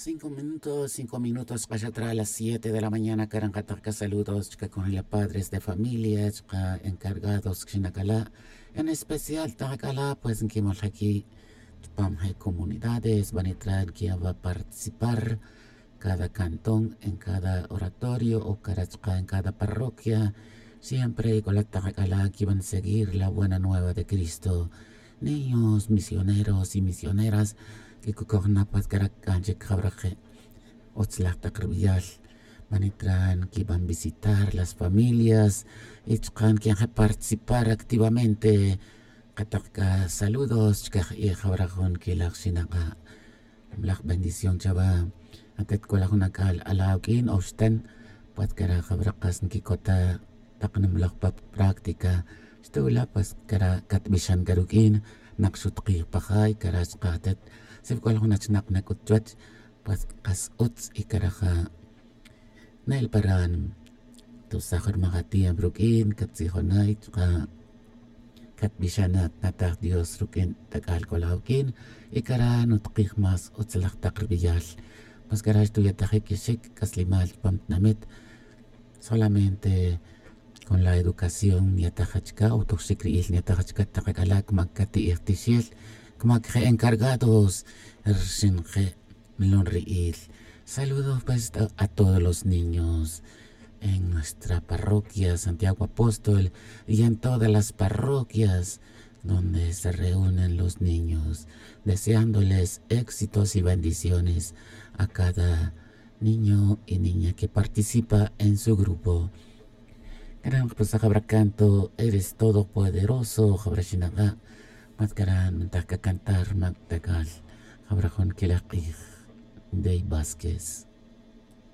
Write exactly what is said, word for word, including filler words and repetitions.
Cinco minutos cinco minutos k'axat ra las siete de la mañana karan katak ka saludos chka conjila padres de familia chka encargados kxinakala. En especial tak'ala pues nkimol jaki chpam je comunidades banitra nkiya va participar cada cantón en cada oratorio o kara chka en cada parroquia. Siempre k'olat tak'ala kiban seguir la buena nueva de cristo. Niños misioneros y misioneras kikukojna pues kara kanchik jawraqe' utzlaj taq rub'iyal. Manitran kiban visitar las familias y chqan kian je participar activamente qataq k'a saludos chkaj ijawraq jun kilaj xinaqa'. Mlaj bendición chawa. Atet k'o la jun ak'al ala awk'in o xten pues kara jawraq qas nkikota taq nimloj pa práctica. Xtuwila pues kara katb'ixan karuk'in naq xutqij pa jay kara chqatet. Sib'k'ol jun achnaq nak'ut chuwach pues qas utz y karaja'. Nel paran tusaj rmaj atiempo ruk'in katzijonay chqa' katb'ixanat nataj dios ruk'in tak'al k'ola awk'in. Y kara nutqij más utzlaj taq rb'iyal. Pues kara xtuyatajik ixik k'aslimal chpam tnamit solamente con la educación nyataj achka o tojxik ri'il nyataj achka taq ak'ala' kmak kati'ij tixil kmak je' encargados rxin je' nlon ri'il. Saludos pues a todos los niños en nuestra parroquia santiago apóstol y en todas las parroquias donde se reúnen los niños, deseándoles éxitos y bendiciones a cada niño y niña que participa en su grupo. Karan jpusaj jabra canto eres todopoderoso jabra xinaqa'. Mas karan mintaj kacantar mak takal jabra jun kilaj q'ij. Dey vásquez.